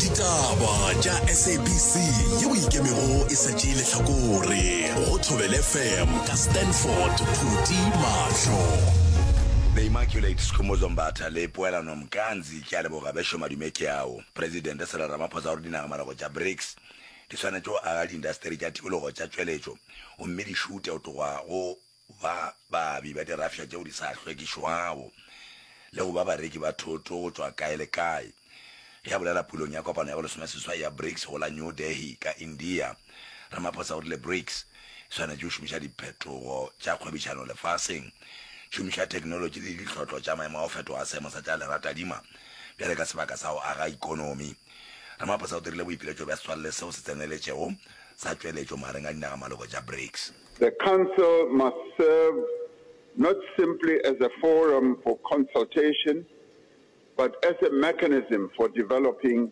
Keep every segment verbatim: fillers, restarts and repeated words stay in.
Ditaba tša S A B C yeo ikemego e sa tšee lehlakore go Thobela F M ka Stanford Phuti Mahlo. The Immaculate Skhumbuzo Mbatha le Poelano Mkanzi, ke a leboga bešo madume ke ao. Presidente Cyril Ramaphosa o re dinagamalogo tša BRICS di swanetše go aga diindasteri tša tikologo tša tšweletšo gomme di šute go tloga go ba baabi ba dirafša tšeo di sa hlwekišwago le go ba bareki ba thoto go tšwa kae le kae. Ge a bolela pulong ya kopano ya bolesomeseswai ya BRICS go la New Delhi ka India, Ramaphosa o rile BRICS e swanetše go šomiša diphetogo tša kgwebišano lefaseng, tšhomišo ya theknolotši le ditlhotlo tša maemo a go fetoga a seemo sa tša leratadima bjale ka sebaka sa go aga ikonomi. Ramaphosa o dirile boipiletšo bja setswalle seo se tseneletšego sa tšweletšo magareng a dinagamaloko tša BRICS. The Council must serve not simply as a forum for consultation, but as a mechanism for developing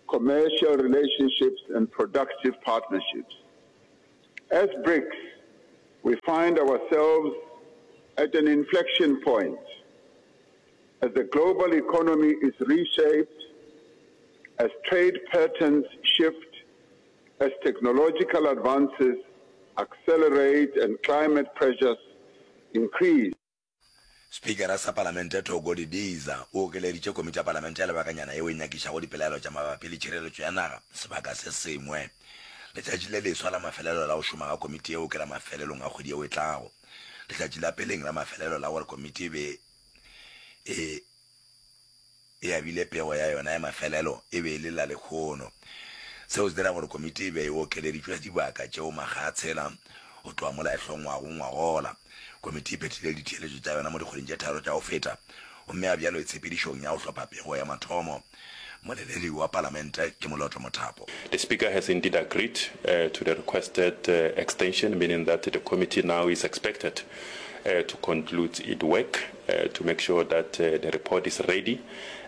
commercial relationships and productive partnerships. As BRICS, we find ourselves at an inflection point. As the global economy is reshaped, as trade patterns shift, as technological advances accelerate and climate pressures increase. Spikara sa Palamente Thoko Didiza o okeleditše komiti ya Palamente ya lebakanyana yeo e nyakišago dipelaelo tša mabapi le tšhireletšo ya naga sebaka se sengwe. Letšatši le leswa la mafelelo la go šoma ga komiti yeo ke la mafelelong a kgwedi yeo e tlago. Letšatši la peleng la mafelelo la gore komiti e be e e abile pego ya yona ya mafelelo e be e le la lehono. Seo se dira gore komiti e be e okeleditšwe dibaka tšeo makga a tshela go tloga mola e hlongwago ngwagola. Komiti e phethile ditheeletšo tša yona mo dikgweding tše tharo tša go feta gomme ga bjalo e tshepedišong ya go hlopha pego ya mathomo. Mmoleledi wa Palamente ke Moloto Mothapo. The Speaker has indeed agreed uh, to the requested uh, extension, meaning that the committee now is expected uh, to conclude its work uh, to make sure that uh, the report is ready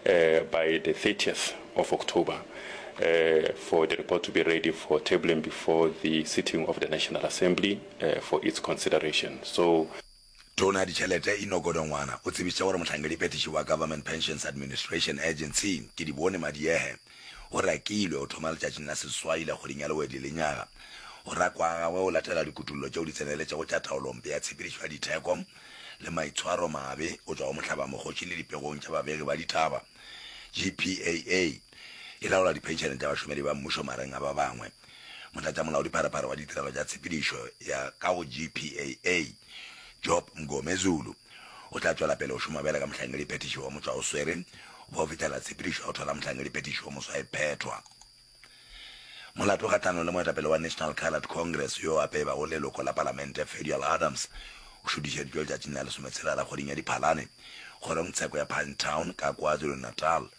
uh, by the thirtieth of October uh, for the report to be ready for tabling before the sitting of the National Assembly uh, for its consideration. So Tona ya ditšhelete Enoch Godongwana o tsebišitše gore mohlankediphethiši wa Government Pensions Administration Agency Kedibone Madiehe o rakilwe go thoma letšatšing la seswai la kgweding ya Lewedi lenyaga. Go rakwa ga gagwe go latela dikutullo tšeo di tseneletšego tša taolompe ya tshepedišo ya ditheko le maitshwaro mabe go tšwa go mohlabamokgoši le dipegong tša babegi ba ditaba. G P A A e laola diphenšene tša bašomedi ba mmušo magareng a ba bangwe. Motlatšamolaodipharephare wa ditirelo tša tshepedišo ya ka go G P A A Job Mngomezulu o tla tšwela pele go šoma bjale ka mohlankediphethiši wa motšwaoswere go ba go fihlela tshepedišo ya go thola mohlankediphethiši wa moswa e phethwa. Molato kgahlanong le moetapele wa National Coloured Congress yo a pebago leloko la palamente Ferrial Adams o šutišeditšwe letšatšing la lesometshela la kgweding ya Diphalane kgorongtsheko ya Pinetown ka KwaZulu-Natal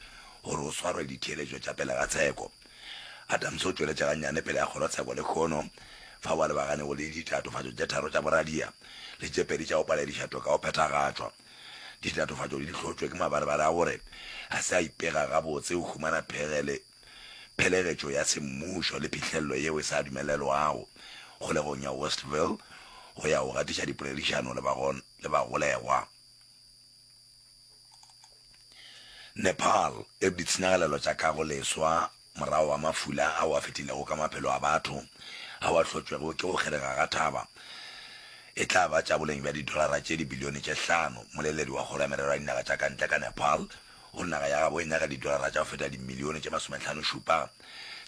gore o swarwe ditheeletšo tša pele ga tsheko. Adams o tšweletše gannyane pele ga kgorotsheko lehono fao a lebaganego le ditatofatšo tše tharo tša boradia le tše pedi tša go palediša toka go phethagatšwa. Ditatofatšo di hlotšwe ke mabarebare a gore a se a ipega gabotse go humana phegele phelegetšo ya semmušo le phihlelelo yeo e sa dumelelwago kgolegong ya Westville go ya go gatiša dipoledišano le bagolegwa. Nepal e re ditshenyagalelo tša kago leswa morago ga mafula ao a fetilego ka maphelo a batho ao a hlotšwego ke go kgerega ga thaba e tla ba tša boleng bja didolara tše dibilione tše hlano. Mmoleledi wa Kgoro ya Merero ya Dinaga tša ka Ntle ka Nepal o re naga ya gabo e nyaka didolara tša go feta dimilione tše masomehlano-šupa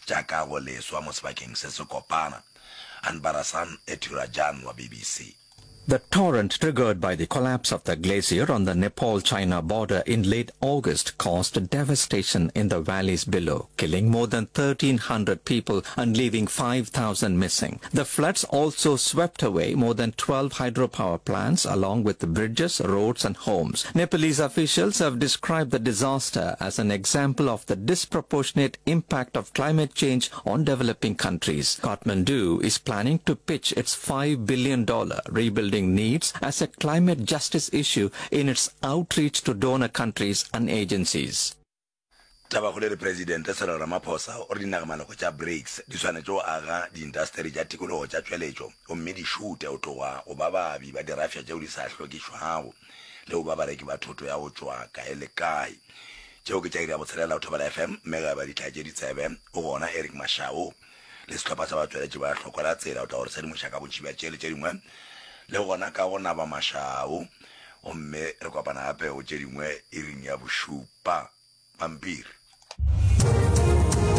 tša kago leswa mo sebakeng se se kopana. Anbarasan Ethirajan wa B B C. The torrent triggered by the collapse of the glacier on the Nepal-China border in late August caused devastation in the valleys below, killing more than thirteen hundred people and leaving five thousand missing. The floods also swept away more than twelve hydropower plants along with bridges, roads and homes. Nepalese officials have described the disaster as an example of the disproportionate impact of climate change on developing countries. Kathmandu is planning to pitch its five billion dollars rebuilding needs as a climate justice issue in its outreach to donor countries and agencies. Tabakgolo e re Presidente Cyril Ramaphosa o re dinagamaloko tša BRICS di swanetše go aga diindasteri tša tikologo tša tšweletšo gomme di šute go tloga go ba baabi ba dirafša tšeo di sa hlwekišwago le go ba bareki ba thoto ya go tšwa kae le kae. Tšeo ke tša iri ya botshelela go Thobela F M, mme ge ba di tlatše ditsebe, o gona Eric Mashau le sehlopha sa batšweletši ba Hloko la Tsela o tla go re sedimoša ka bontši bja tše le tše dingwe, le gona ka go naba Mashau. Gomme re kopana gape go tše dingwe iring ya bošupa. Pampiri.